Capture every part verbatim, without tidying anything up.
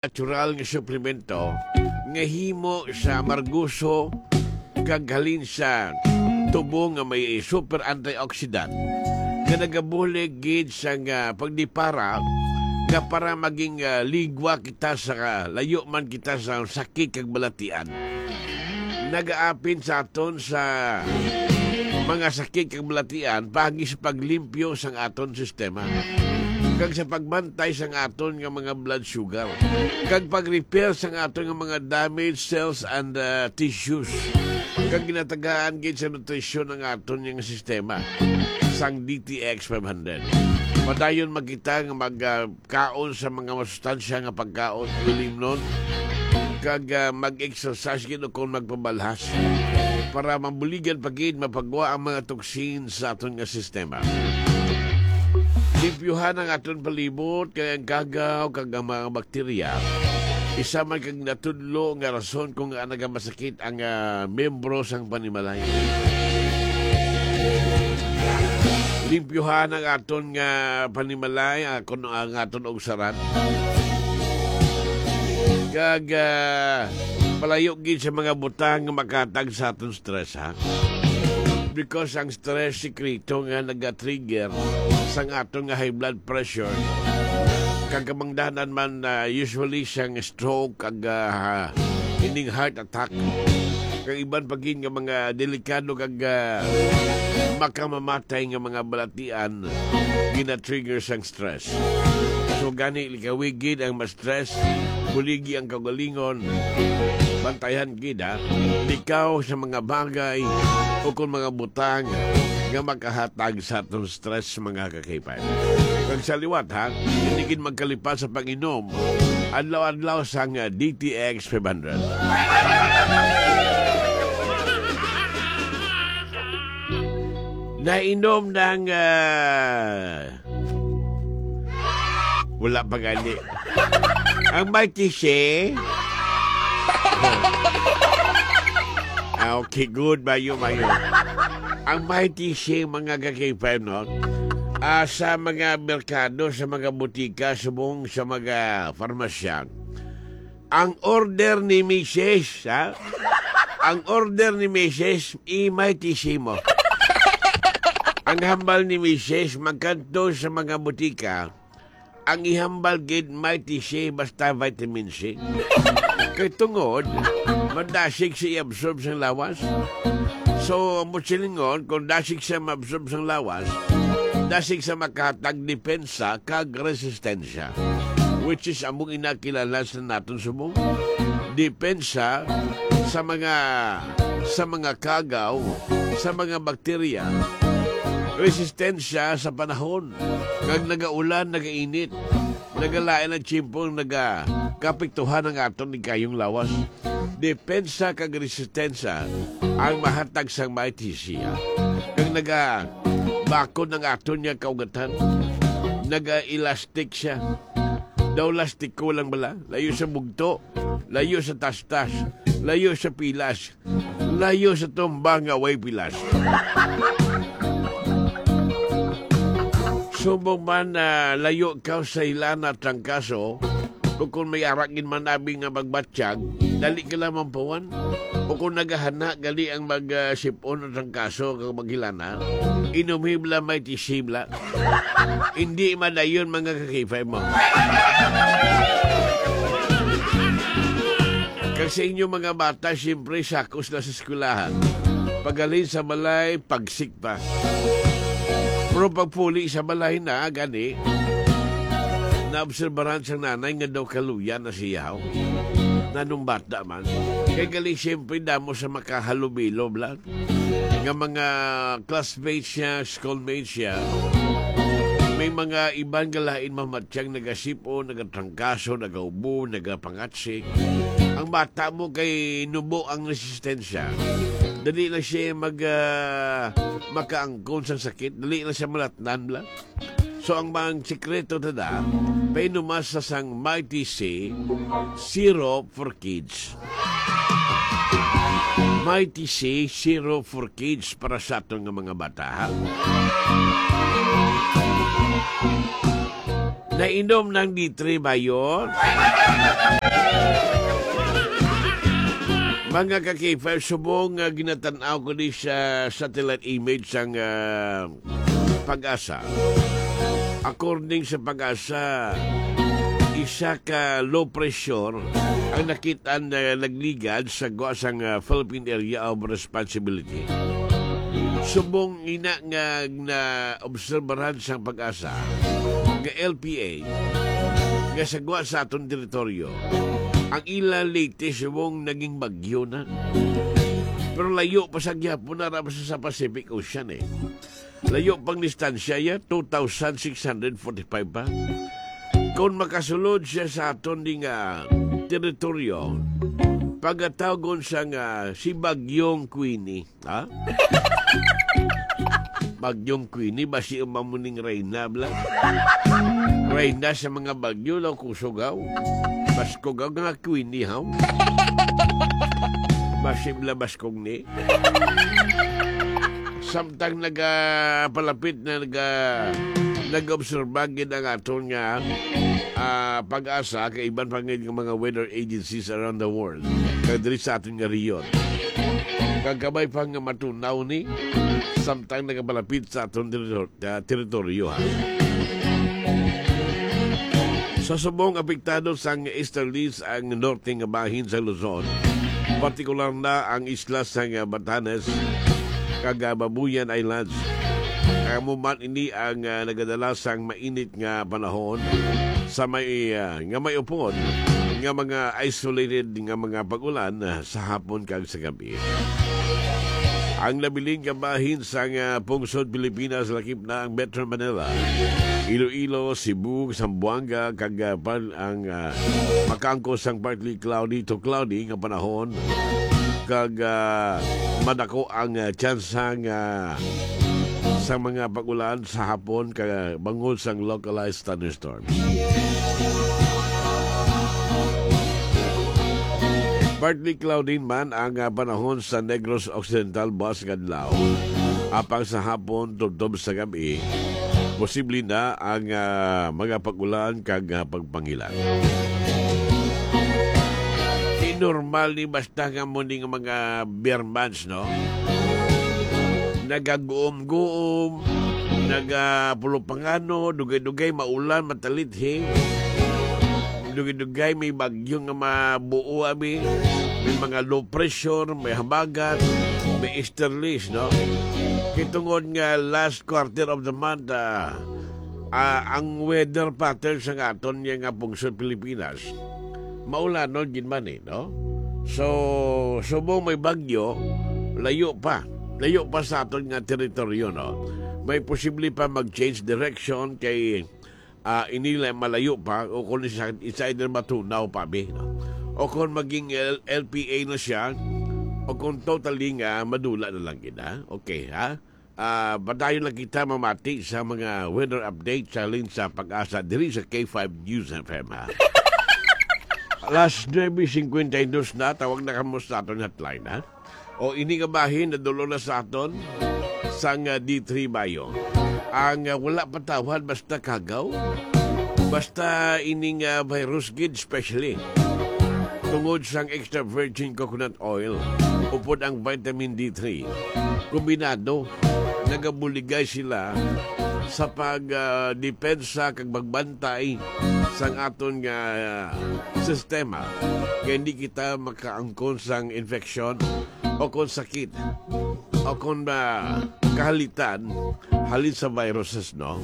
natural nga suplemento nga himo sa amargoso kag halin sa tubo nga may super antioxidant nga nagabulig gid sa nga pagdipara nga para maging, ah, ligwa kita sa layo man kita sa sakit kag balatian. Nagaapin sa aton sa mga sakit kag balatian paagi sa paglimpyo sang aton sistema kag sa pagbantay sang aton nga mga blood sugar kag pag-repair sang aton nga mga damaged cells and, uh, tissues, kag ginatagaan gid sa nutrisyon ang aton nga sistema sang D T X five hundred. Padayon makita nga mag, uh, kaon sa mga masustansya nga pagkaon, ilimnon, kag, ah, mag-exercise gid o kon magpabalhas para mabuligan pa gid mapagwa ang mga toxins sa aton nga sistema. Limpyuhan ang aton palibot kay ang kagaw kag ang mga bakterya isa man kag natudlo nga rason kung ngaa nagamasakit ang, ah, miyembro sang panimalay. Limpyuhan ang aton nga panimalay, ah, kun ang aton ugsaran. Kag, ah, palayo gid sa mga butang nga makahatag sa aton stress, ha? Because ang stress, sikreto nga naga-trigger sang aton nga high blood pressure. Kag kamangdanan man, ah, usually siyang stroke, kag, ah, ining heart attack. Kag iban pa gid nga mga delikado kag, ah, makamamatay nga mga balatian gina-trigger sang stress. So gani, likawi gid ang ma-stress, buligi ang kaugalingon, bantayan gid, ha, likaw sa mga bagay o kung mga butang nga makahatag sa atong stress, mga kakipay. Kag sa liwat, ha, hindi gid magkalipas sa pag-inom adlaw-adlaw sang, ah, D T X five hundred. Nainom ng, ah, wala pa gani. Ang Mighty She. Ah, okay, good. Mayo, mayo. Ang Mighty She, mga kakipay, no? Ah, sa mga merkado, sa mga butika, subong sa mga farmasya. Ang order ni Misis, ha? Ang order ni Misis, i-Mighty She mo. Ang hambal ni Misis, magkadto sa mga butika, ang ihambal gid Mighty She basta vitamin C. Kay tungod, madasig siya i-absorb sa lawas. So, amo silingon, kung dasig siya ma-absorb sa lawas, dasig siya makahatag depensa kag resistensya, which is among inakilala sa naton subong. Depensa sa mga, sa mga kagaw, sa mga bakterya, resistensya sa panahon, kag nagaulan, nagainit, nagalain ang tiyempo, nagakapektuhan ang aton ligayong lawas. Depensa kag resistensya ang mahatag sang Mighty She, kag nagabakod ang aton nga kaugatan. Naga-elastic siya. Daw lastiko lang bala, layo sa bugto, layo sa tastas, layo sa pilas, layo sa tumba nga way pilas. Subong man na layo ka sa hilana, trangkaso, o kung may ara gid man abi nga magbatyag, dali ka lang mampawan. O kung nagahana gali ang mag, ah, sip-on o trangkaso kag maghilana, inom hibla, Mighty She bala. Hindi madayon, mga kakipay mo. Kag sa inyo mga bata, siyempre, sakos na sa eskwelahan. Paghalin sa balay, pagsikpa. Pero pagpuli sa balay na, gani, naobserbaran sang nanay nga daw kaluya na siya, oh. Nanong bata man. Kay gali, siyempre, damo sa makahalubilo, bala. Nga mga classmates siya, schoolmates siya, may mga iban nga lain mamatyag, nagasip-on, nagatrangkaso, nagaubo, nagapangatsik. Ang bata mo kay nubo ang resistensya. Dali lang siya mag, ah, makaangkon sa sakit. Dali lang siya malatnan, bala. So, ang mga sikreto, tada, painumas sa sang Mighty C syrup for kids. Mighty C syrup for kids para sa aton nga mga bata, ha? Nainom ng D three ba yun? Mga ka-K five, subong nga ginatan-aw ko ni sa satellite image sang, ah, Pag-asa. According sa Pag-asa, isa ka low pressure ang nakita na nagligad sa gwa sang, ah, Philippine Area of Responsibility. Subong ina nga naobserbaran sang Pag-asa nga L P A nga sa gwa sa aton teritoryo, ang ila latest subong naging bagyo na. Pero layo pa sa gihapon na ra sa, sa Pacific Ocean, eh. Layo pang distansya ya, two thousand six hundred forty-five pa. Kung makasulod siya sa aton di nga teritoryo, pagatawgon sa nga si Bagyong Queenie, ha? Bagyong Queenie, basi umamuning reyna, bla? Reyna sa mga bagyo, law, kusugaw. Baskog ang nga Queenie, haw? Basi bla baskog ni. Samtang nagapalapit na naga-, nag-obserba gid ang aton nga, ah, Pag-asa kay iban pa gid nga mga weather agencies around the world, kag diri sa aton nga rehiyon. Kag kabay pa nga matunaw ni samtang nagapalapit sa aton teritor-, ah, teritoryo, ha. Sa subong, apektado sang easterlies ang norte nga bahin sa Luzon, partikular na ang isla sang Batanes kag, ah, Babuyan Islands. Amo man ini ang, ah, nagadala sang mainit nga panahon sa may, ah, nga may upod nga mga isolated nga mga pag-ulan, ah, sa hapon kag sa gab-i. Ang nabilin nga bahin sang, ah, pungsod Pilipinas, lakip na ang Metro Manila, Iloilo, Cebu, Zamboanga, kag, ah, pan-, ang, ah, makaangkon sang partly cloudy to cloudy nga panahon, kag, ah, madako ang, ah, tsansa nga sa mga pag-ulan sa hapon kag bangod sang localized thunderstorms. Partly cloudy man ang, ah, panahon sa Negros Occidental buas nga adlaw. Apang sa hapon, tubtob sa gab-i, posible na ang, ah, mga pag-ulan kag, ah, pagpangilan. Di normal ni basta nga mo ning mga Birmans, no? Nagaguom-guom, nagapulupangano, dugay-dugay maulan, matalithi. Dugay-dugay may bagyo nga mabuo, abi. May mga low pressure, may habagat, may easterlies, no? Kay tungod nga last quarter of the month, ah, ah, ang weather pattern sa aton nga pungsod Pilipinas, maulanon gid man, eh, no? So, subong may bagyo, layo pa. Layo pa sa aton nga teritoryo, no? May posible pa mag-change direction kay, ah, ini la-, malayo pa o kung isa, isa either matunaw pa, bi, no? O kung maging L-, L P A na siya, o kung totally nga madula na lang gid, ha? Okay, ha? Ah, padayon lang kita mamati sa mga weather update sa halin sa Pag-asa diri sa K five News F M, ha? Alas nuebe cincuenta y dos na, tawag na kamo sa aton hotline, ha? O ini nga bahin, nadul-ong na sa aton sang, ah, D three Bio. Ang, ah, wala patawhan, basta kagaw, basta ining, ah, virus gid, especially tungod sang extra virgin coconut oil, upod ang vitamin D three. Kombinado, nagabuligay sila sa pag, ah, depensa kag pagbantay sang aton nga, ah, sistema, kay hindi kita makaangkon sang infeksyon o kon sakit o kon, ah, kahalitan halin sa viruses, no?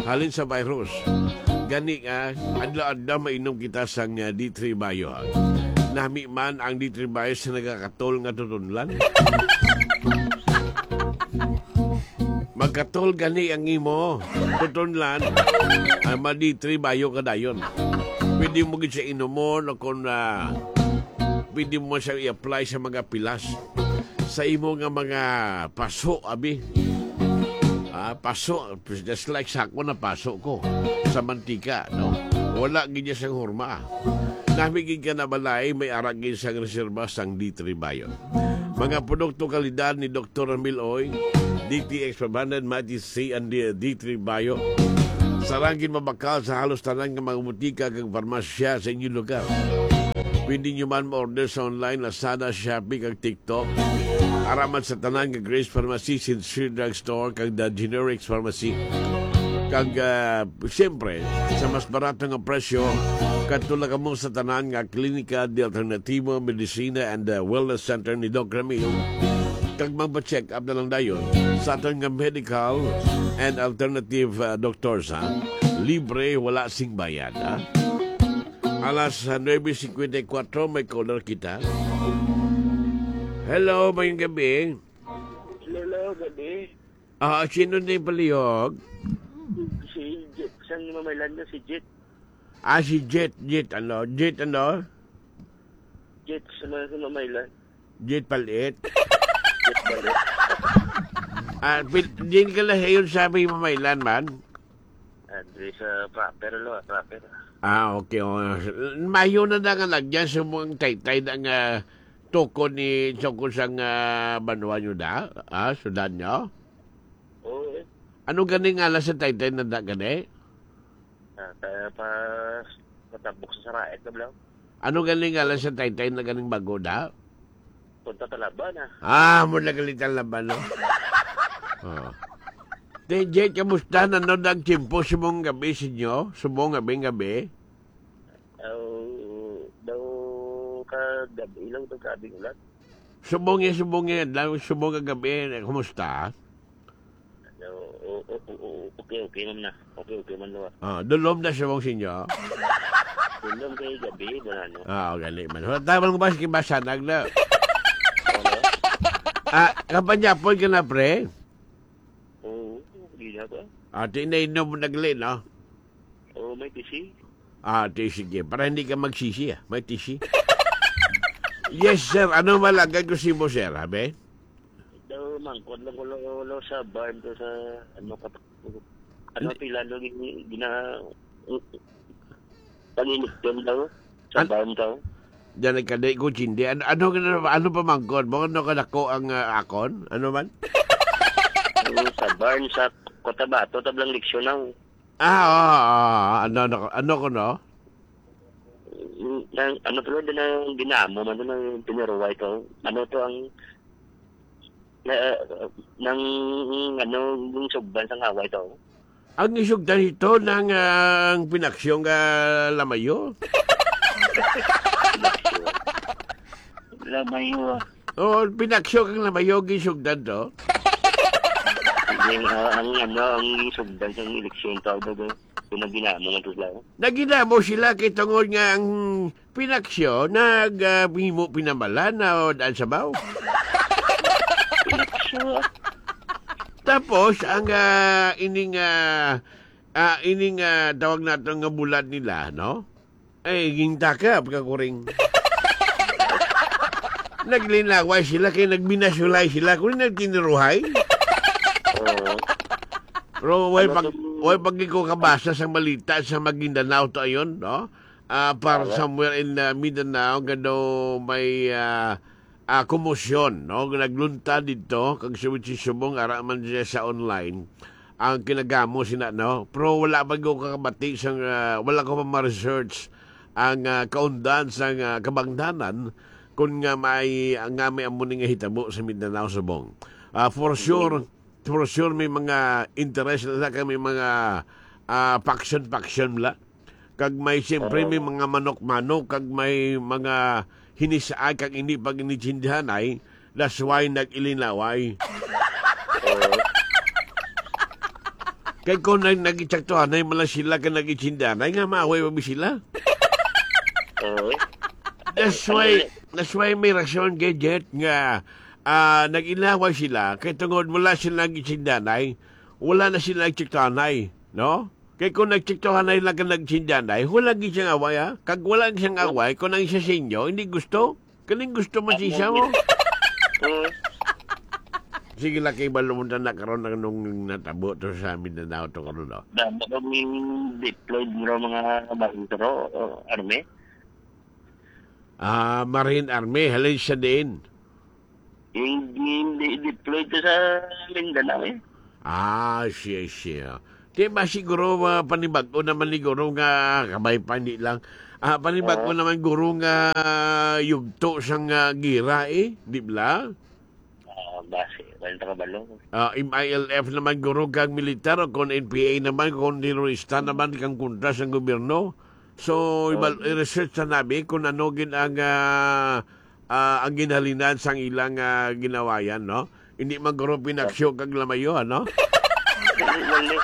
Halin sa virus. Gani nga, adlaw-adlaw mainom kita sang, ah, D three Bio, ha? Nami man ang D three Bio sa nagakatol nga tutunlan. Magkatol gani ang imo tutunlan, ang ma-D three Bio ka dayon. Pwede mo gid siya inumon o kon, ah, pwede mo siya i-apply sa mga pilas. Sa imo nga mga paso, abi. Ah, paso, just like sa ako na paso ko sa mantika, no? Wala gid niya sang horma. Nami gid ka na balay, may ara gid sang reserba sang D three Bio. Mga produkto kalidad ni Doktor Ramil Oy, D T X five hundred, Mighty C, and D-, D three Bio. Sarang gid mabakal sa halos tanan nga mga butika kag parmasya sa inyong lugar. Pwede nyo man ma-order sa online, Lazada, Shopee, kag TikTok. Araman sa tanan nga Grace Pharmacy, Sincere Drug Store, kag The Generics Pharmacy. Kag, ah, siyempre, sa mas barato nga presyo, kadto lang kamo sa tanan nga Klinika de Alternativo, Medicina, and, ah, Wellness Center ni Doc Ramil. Kag magpa-check up na lang dayon sa aton nga medical and alternative, ah, doctors, ha? Libre, wala sing bayad, ha? Alas, ah, nuebe cincuenta y cuatro, may caller kita. Hello, mayong gabi. Hello, gabi. Ah, sino ni palihog? Si Jet. Sang Mamaylan na si Jet. Ah, si Jet, Jet, ano? Jet, ano? Jet sa mga sa Mamaylan. Jet Palit. Jet Palit. Ah, pil-, din ka lahiyon sa may Mamaylan man? Andre sa proper, lo, proper. Ah, okay, oh. Mayo na da nga lagyan sa mong taytay na nga tukod ni, tukod sang, ah, banwa nyo da? Ah, sudan nyo? Oo, eh. Ano gani nga sa taytay na da gani? Ah, kaya pa, patabok sa saraet na blang. Ano gani nga sa taytay na ganing bago da? Punta Talaba na. Ah, mo nagalitan laban, no? Oh. T J, kamusta na no nagtimpo subong gabi sinyo? Subong gabi, gabi? Aw, daw ka gabi lang to, gabi ulan. Subong ya, subong ya, daw subong ka gabi, eh, kumusta? O, o, o, o, o, okay, okay man na. Okay, okay man na. Ah, dulom na siya mong sinyo? Dulom kay gabi, wala, no? Ah, gali man. Wala tayo lang ba, sige, basa, nagla. Ano? Ah, kapanyapon ka na, pre? Oo, di na ba? Ah, tinainom mo nagli, no? Oo, may tisi. Ah, di, sige. Para hindi ka magsisi, ah. May tisi. Yes, sir. Ano malagay ko si mo, sir, ha, be? Daw, mangkot lang ko, lo, lo, sa barn to sa, ano, kap-, ano, Hindi. Pila, no, gin-, gina-, pag-iligton daw, sa An-, barn daw. Diyan nagkadi ko, Chindi. Ano, ano, ano, ano pa mangkot mo? Ano kadako ang, ah, akon? Ano man? Ano, sa barn, sa Cotabato, tablang leksyon na, oh. Ah, oo, oo, oo. Ano, ano, ano ko, no? Mm, nang, ano to, din ang dinamo man to, nang piniruway to. Ano to ang, na, nang, ano, yung sugdan sa ngaway to? Ang isugdan ito ng, ah, ang pinaksyon nga lamayo? Lamayo, ah. Oo, pinaksyo kang lamayo, gisugdan to. Yung, ah, ang, ano, ang sugdan sa eleksyon tawag na doon. Yung nagdinamo nga sila. Nagdinamo sila kay tungod nga ang pinaksyo nag, ah, himo pinamalan na o daan sa baw. Pinaksyo. Tapos, ang, ah, ining, ah, ah, ining, ah, tawag nato nga bulad nila, no? Ay, gintakap ka, kuring. Naglinaway sila, kay nagbinasulay sila, kuring nagtiniruhay. Oo. Pero way Ano pag, to? Way pag ko kabasa sa balita sa Maguindanao to ayon, no? Ah, para Tama. Somewhere in, ah, Mindanao, gano may, ah, ah, komosyon, no? Naglunta dito, kag si Richie Subong, ara man siya sa online, ang kinagamo sina, no? Pero wala pa ko kakabati sa, ah, wala ko pa ma-research ang, ah, kaundan sa, ah, kabangdanan kung nga may, nga may amo ni nga hitabo sa Mindanao, Subong. Ah, for sure, for sure may mga interest na kami mga, ah, faction-faction la. Kag may, siyempre, may Oo. mga manok-manok, kag may mga hinisaay, kag hindi pag-initsindihanay, that's why nag-ilinaway. Oo. Kay kung nag-, nag-itsaktuhanay man lang sila kag nag-itsindihanay, nga maaway pa ba sila? Oo. That's Ano why, yun? That's why may rason, Gadget, nga, ah, nag-inaway sila, kay tungod wala sila nag-itsindihanay, wala na sila nag-itsaktuhanay, no? Kay kung nagtsiktuhanay lang ka nagsindanay, wala gid siyang away, ha? Kag wala siyang away kung ang isa sa inyo hindi gusto. Kaning gusto man sa isa mo. Mm. Sige lang, kay balo mo na karon ang nung natabo to sa Mindanao to karon, no? Damo kami deployed nga mga bantro, o, army. Ah, Marine Army, halin siya din. Hindi, hindi deployed to sa Mindanao, eh. Ah, siya, siya. Di ba siguro, ah, panibag-o naman ni guro nga, kabay pa, hindi lang. Ah, panibag-o Oo. naman guro nga yugto sang, ah, gira, eh, di ba? Ah, basi, wala kabalo. Ah, M I L F naman guro kag militar, o kung N P A naman, kung terorista naman kang kontra sang gobyerno. So, ibal-, Oo. i-research sa nabi kung ano gid ang, ah, ah, ang ginhalinan sang ilang, ah, ginawayan, no? Hindi man guro pinaksyo kag lamayo, ano? Dili, dili.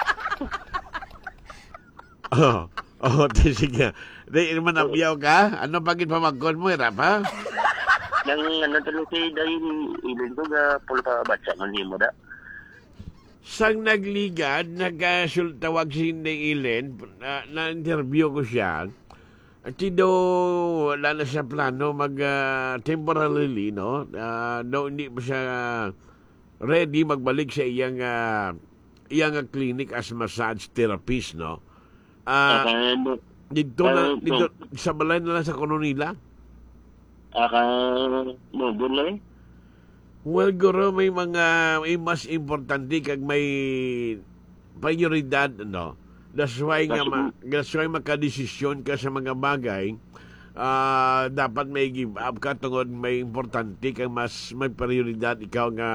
Oh, oh, di sige. Di, manabyaw ka? Ano pa gid pamangkon mo, ira pa? Nang ano tulo si Day Ilin ko, ga pulo pa batsa man nimo da. Sang nagligad, nagasul-, tawag si Day Ilin, na, na-interview ko siya. Ati daw, wala na siya plano mag, ah, temporarily, no? Ah, daw hindi pa siya ready magbalik sa iyang, ah, iyang clinic as massage therapist, no? Ah, Aka, dito na, ah, dito, sa balay na lang sa kuno nila? Aka, no, doon lang eh. Well, guro, may mga, may mas importante kag may prioridad, no? That's why nga That's ma-, that's why makadesisyon ka sa mga bagay. Ah, dapat may give up ka tungod may importante kag mas may prioridad ikaw nga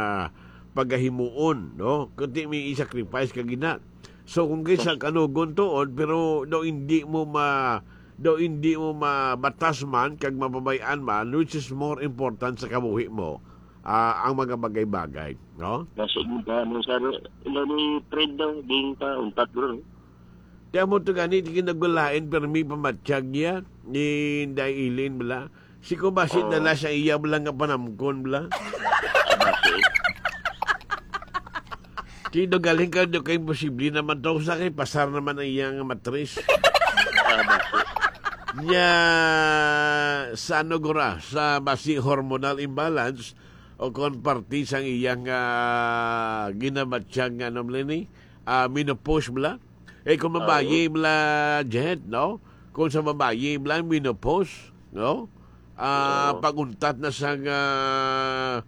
pagahimuon, no? Kundi may i-sacrifice ka gina. So, kung kaysa kanugon tuod, pero daw hindi mo ma-, daw hindi mo mabatas man kag mababay-an man, which is more important sa kabuhi mo, ah, ang mga bagay-bagay, no? Nasa gitna mo sa ilo ni Fred daw, ding pa, untat, bro. Di amo to gani, di kinagulain, pero may pamatyag niya, ni Day Ilin, bala. Si ko basi Oo. dala sa iya, bala, nga panamkon, bala. Basi. Di do galing ka, do kay imposible naman to, sa kay pasar naman ang iyang matris. Ah, basi. Nya, sa ano gura, sa basi hormonal imbalance, o kon parte sang iyang, ah, ginamatyag nga, ano, bala ni? Ah, menopause, bala? Eh, kung Oo. babayi, bala, Jet, no? Kung sa babayi, bala, menopause, no? Ah, Oo. pag-untat na sang, ah,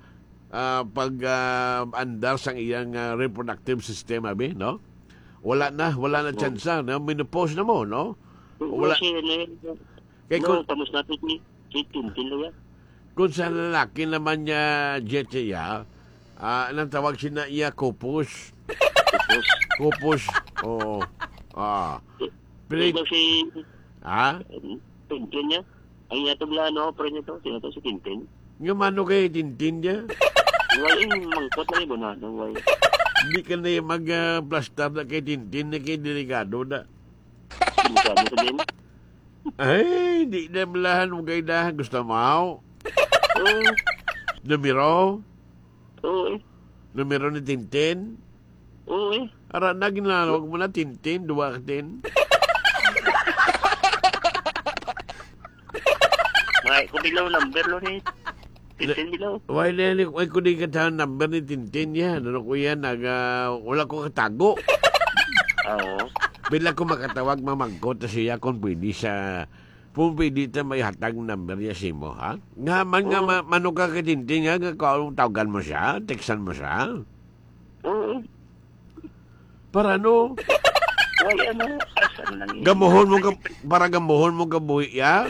ah, pag, ah, andar sang iyang, ah, reproductive system, abi, no? Wala na, wala na Oo. tsansa, no? Menopause na mo, no? Oo, Wala. sir, ano yun? Kay No, kung tapos natin ni, ni Tintin na yan. Kung sa lalaki naman niya, Jet, siya, ah, anong tawag siya na iya? Kupos. Kupos. Kupos. Oo. Ah. Pero Pero si ha? Tintin niya. Ang iya to, bla, ano, pre niya to? Sino to? Si Tintin? Nga mano kay Tintin niya? Wala yung mangkot na yung bunano, wala. Hindi ka na yung mag, ah, plastar na kay Tintin na kay delikado na. Delikado sa din. Ay, di na balahan mo kay na. Gusto mo? Oo. Numero? Oo, eh. Numero ni Tintin? Oo, eh. Ara na, ginanawag mo na Tintin, duwa ka tin. May, kung bilaw number lo ni Tintin bilaw. Why na ni, why ko di ka tahan number ni Tintin yan? Ano ko yan? Naga, wala ko katago. Oo. Bila ko makatawag, mamangkot na siya kung pwede sa, kung pwede ta may hatag number niya sa imo, ha? Nga man nga Oo. ma-, mano ka kay Tintin, ha? Nga ka-, tawagan mo siya? Textan mo siya? Oo. Para ano? Wala, ano, asa lang yun? Gamuhon mo ka, para gamuhon mo ka buhi, ya?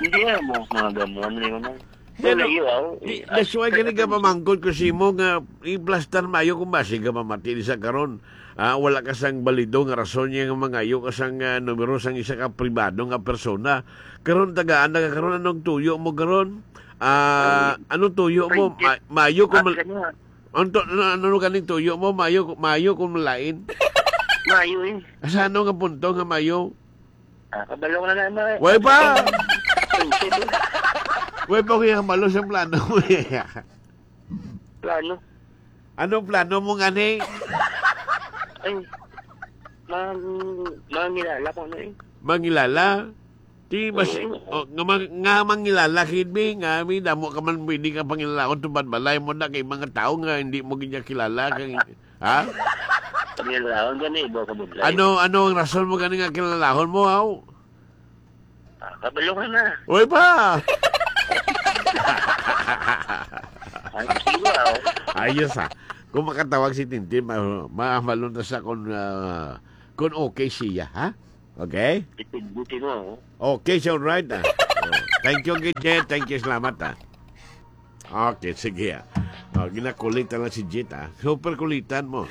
Hindi, ah, mo, mga gamuhon na yun, ah. Pero, Wala yun, ah. di, Eh, that's why ah, gani ka pamangkot ko si mo nga i-plastar maayo kung basi ka mamati di sa karon. Ah, wala ka sang balido nga rason niya nga mangayo ka sang, ah, numero sang isa ka pribado nga persona. Karon, tagaan na ka karon, anong tuyo mo karon? Ah, Ay, anong tuyo mo? Friendship. Ma-, maayo kung At mal-, kanya, Anto, ano, ano ganing tuyo mo? Mayo, mayo kung malain? Mayo, eh. Sa ano nga punto nga mayo? Ah, kabalo na na, ma-, Way pa! Friendship, eh. Way pa, kuya, kabalo sa plano mo, eh. Plano? Anong plano mo, ngani? Ay, mang-, mangilala ko na, eh. Mangilala? Di mas, Oo. oh, nga mang-, nga mangilala, Kid, bi, nga, bi, damo ka man pwede ka pangilalaon tubad balay mo na kay mga tao nga hindi mo gid kilala, kay, ha? Pangilalaon gani, ibo ka budlay. Ano, ano ang rason mo gani nga kilalahon mo, haw? Ah, kabalo ka na. Uy, pa! Ay, sige, ah. Ayos, ah. Kung makatawag si Tintin, ma-, mahamalo na sa kung, ah, kung okay siya, ha? Okay? Itigbuti mo, oh. Okay, siya, alright, ah. Oh, thank you, Jet. Thank you, salamat, ah. Okay, sige, ah. Oh, ginakulit na lang si Jet, ah. Super kulitan mo.